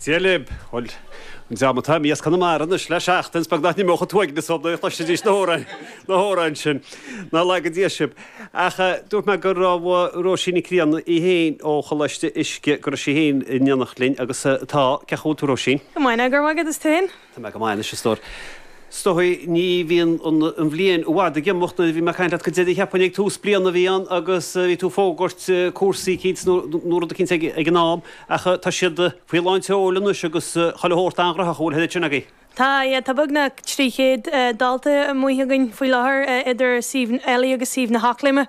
Dia libh. Bhuel, an dream atá imithe as Conamara anois le seachtain, is beag nach n-imeodh an t-uaigneas orthu nuair a chloisfidís na hamhráin, na hamhráin sin. Ná laga Dia sibh. Ach dúirt mé go raibh Róisín Nic Grianna í féin ó Choláiste Uisce, go raibh sí féin in éineacht linn agus tá. Cén chaoi a bhfuil tú, Róisín? Go maith, go raibh maith agat, is tú féin? Tá mé go maith anois, a stór. Is dóigh, ní bhíonn an bhliain i bhfad ag imeacht. Nuair a bhí mé ag caint leat go deireadh cheapfainn ag tús bliana a bhí ann agus bhí tú ag fógairt cúrsaí eicínt nó rud eicínt ag an am ach tá siad faoi lán tseoil anois agus chuile shórt an-ghnóthach an bhfuil an oiread sin agaibh. Tá, yeah, tá beagnach 300 dalta amuigh againn faoi láthair idir suíomh LE agus suíomh na hEachléime.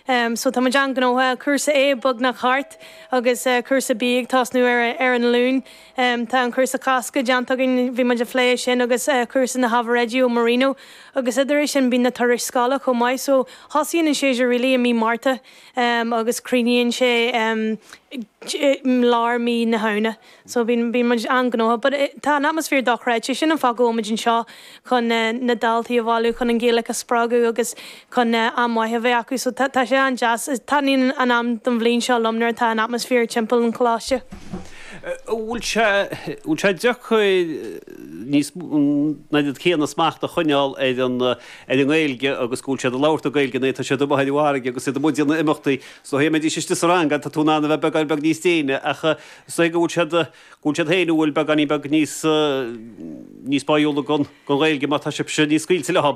So tá muid an-ghnóthach, cúrsa A beagnach thart agus cúrsa B ag tosnú ar ar an Luan. Tá an cúrsa Cásca déanta againn, bhí muid ag plé sin agus cúrsa na hábhair oidí ó Marino agus idir é sin bíonn na turais scoile chomh maith. So thosaíonn an séasúr really i mí Márta agus críochnaíonn sé i lár mí na Shamhna. So bíonn bíonn muid an-ghnóthach but tá an atmaisféar dochreidte, sin an fáth go bhfuil muid anseo chun na daltaí a bhailiú, chun an Ghaeilge a spreagadh agus chun am maith a bheith acu. So tá tá sé an-deas. Taitníonn an am den bhliain seo liom nuair atá an atmaisféar timpeall an choláiste. An bhfuil sé, bhfuil sé deacair níos an oiread céanna smacht a choinneáil ar an, ar an nGaeilge agus go bhfuil siad ag labhairt na Gaeilge nuair atá siad amuigh ar an bhfarraige agus iad amuigh ag déanamh imeachtaí. Is dóigh dá mbeidís istigh sa rang tá tú in ann a bheith beagán beag níos déine ach is dóigh go bhfuil siad, go bhfuil siad féin, an bhfuil beagáinín beag níos, níos báúla don, don Ghaeilge má tá sibhse níos scaoilte leo.